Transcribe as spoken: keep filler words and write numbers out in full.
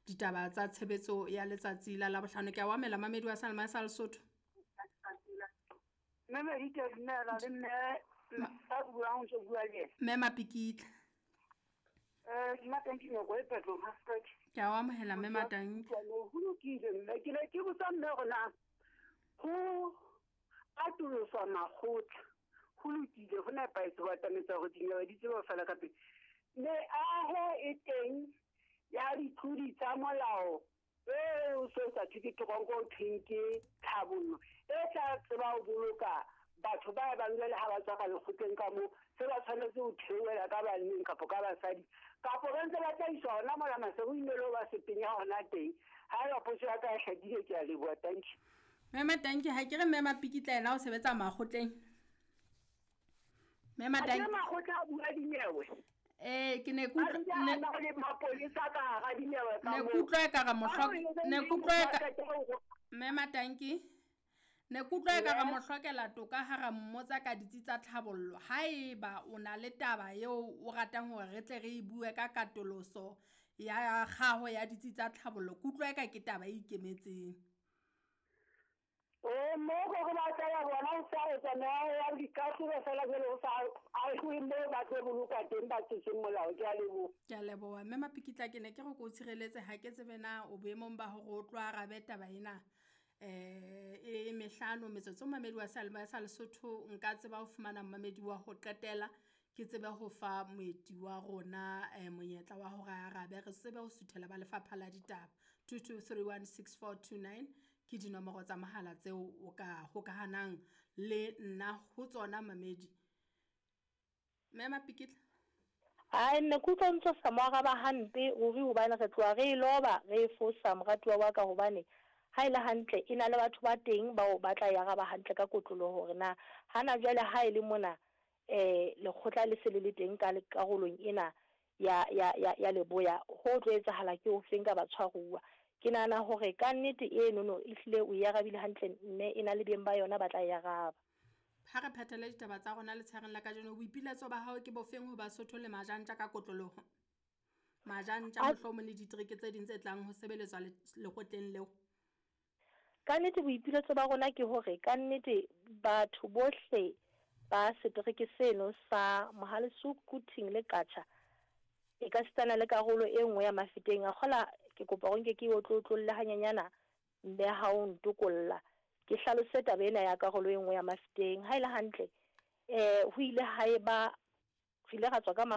ditaba tsa tshebetso ya letsatsi la Labohlano. Ke a o amela mamedi wa Salma sa Lesotho. Mme Medite, dumela le mme a buang o ntso bua le yena. Mme Mapikitla. Eh, Matanki Nyoko e Petro Hastert. Ke a o amohela mme Matanki. Ho lokile mme ke ne ke botsa mme hore na ho atoloswa makgotla ho lokile ho nepahetse ho atametsa hore dinyewe di tsebe ho fela ka pele. Meaho e teng ya ditlodi tsa molao eo so sa thwe ke teronko ho thweng ke tlhabollo e tla tseba ho boloka batho ba bang jwale ha ba tswa ka lekgotleng ka moo se ba tshwanetse ho theohela ka banneng kapo ka basadi kapo ba ntse ba tla iswa hona mola Maseru ilo ba se penya hona teng. Ha eba potso ya ka e hlakile, ke a leboha. Thank you. Mme Matanki, ha ke re mme Mapikitla ena o sebetsa makgotleng. Mme Matanki. Ha ke makgotla a bua dinyewe. Eh, ke ne kutlwa ne le mapolesa ka hara dinyewe ka ne moo. kutlwa e ka re mohlo- Ha o e ne kutlwa e ka le Mme Matanki, ne kutlwa e ka re Yes. mohlokela toka ha ra mmotsa ka ditsi tsa tlhabollo. Haeba o na le taba eo o ratang hore re tle re e bue ka katoloso ya kgaho ya ditsi tsa tlhabollo, kutlwa e ka ke taba e ikemetseng. Eh, mo go go batla ya bona o sa etsa meaho ya dikahlolo fela jwale o sa ahuwe moo ba tlo boloka teng ba tlotseng molao. Ke a leboha. Ke a leboha. Mme Mapikitla, ke ne ke re ke o tshireletse, ha ke tsebe na o boemong ba hore o tlo arabe taba ena. Eh, e mehlano metsotso mamedi wa Salma sa Lesotho nka tseba ho fumana mamedi wa ho qetela ke tsebe ho fa moeti wa rona eh, monyetla wa hore a arabe, re tsebe ho suthela ba lefapha la ditaba. two two three one six four two nine ke dinomoro tsa mohala tseo o ka hokahanang le nna ho tsona mamedi. Mme Mapikitla. Ai, nne ke utlwa ntse sa mo araba hampe ruri, hobane re tloha re e loba re e fosa moratuwa wa ka, hobane ha e le hantle e na le batho ba teng bao ba tla e araba hantle ka kotloloho hore na hana jwale ha e le mona eh lekgotla le se le le teng ka karolong ena ya ya ya ya leboya, ho tlo etsahala ke o feng ka batshwaruwa. Ke nahana hore ka nnete eno no ehlile o e arabile hantle, mme e na le beng ba yona ba tla e araba. Ha re phethele ditaba tsa rona letshareng la kajeno, boipiletso ba hao ke bofeng ho Basotho le Majantja ka kotloloho? Majantja A- mohlomong le ditereke tse ding tse tlang ho sebeletswa le-, lekgotleng leo. Ka nnete boipiletso ba rona ke hore ka nnete batho bohle ba setereke seno sa Mohale's Hoek, Quthing le Qacha, e ka sitana le karolo e nngwe ya Mafeteng. A kgola ke kopa hore nke ke o tlotlolle hanyenyana mme ha o ntokolla ke hlalose taba ena ya karolo e nngwe ya Mafeteng. Ha e le hantle, eh ho ile ha eba re ile ra tswa ka